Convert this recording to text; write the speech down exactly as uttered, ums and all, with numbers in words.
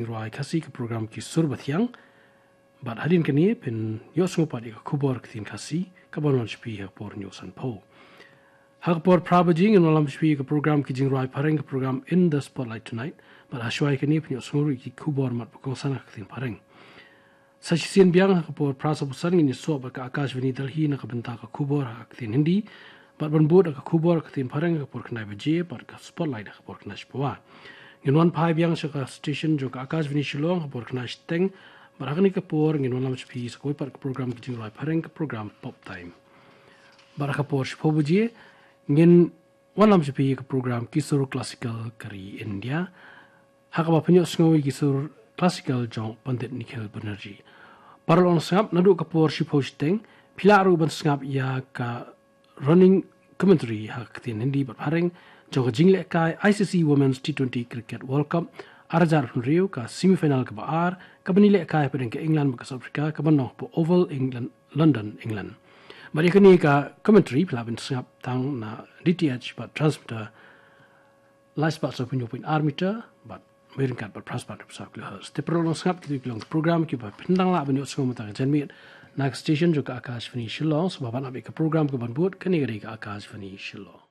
jingrwai Khasi ka program Ki Sur Bathiang. Bad hadien kane phin ïohsngew pat ïa ka khubor ka ktien Khasi kaban wan sha phi ha ka por hynñiew sanphew. Ha ka por phra baje ngin wallam sha phi ïa ka program Ki Jingrwai Phareng, ka program In the Spotlight Tonight. Bad ha shuwa ïa kane phin ïohsngew ruh ïa ki khubor mat ba kongsan ha ka ktien Phareng. Sa shisien biang ha ka por phra sawphew san ngin ïasoh bad ka Akashvani Delhi na ka bynta ka khubor ha ka ktien Hindi. Bad ban bud ha ka khubor ha ka ktien Phareng ha ka por khyndai baje bad ka Spotlight ha ka por khyndai shiphew. Ngin wan phai biang sha ka station jong ka Akashvani Shillong ha ka por khyndai shiteng. Bad ha kane ka por ngin wallam sha phi sa kawei pat ka program Ki Jingrwai Phareng, ka program Pop Time. Bad ha ka por shiphew baje ngin wallam sha phi ka program Ki Sur Classical ka ri India. Ha kaba phin ïohsngew ïa ki sur classical jong Pandit Nikhil Banerjee. Para long sngap, naduh ka por shiphew shiteng phi lah ruh ban sngap ïa ka running commentary ha ka ktien Hindi bad Phareng jong ka jinglehkai I C C Women's T twenty Cricket World Cup ar hajar hynriew, ka semi final kaba ar kaban ïalehkai hapdeng ka England bad ka South Africa, kaban long hapoh Oval, England, London, England. Bad ïa kane ka commentary phi lah ban sngap tang na D T H bad transmitter lai spah sawphew hynñiew point ar meter bad wei ryngkat bad phra spah hynriew saw kilohertz. Te para long sngap, kito ki long ki program kiba phin dang lah ban ïohsngew mynta ka janmiet na ka station jong ka Akashvani Shillong. Sngewbha ban ap ïa ka program kaban bud, kane ka dei ka Akashvani Shillong.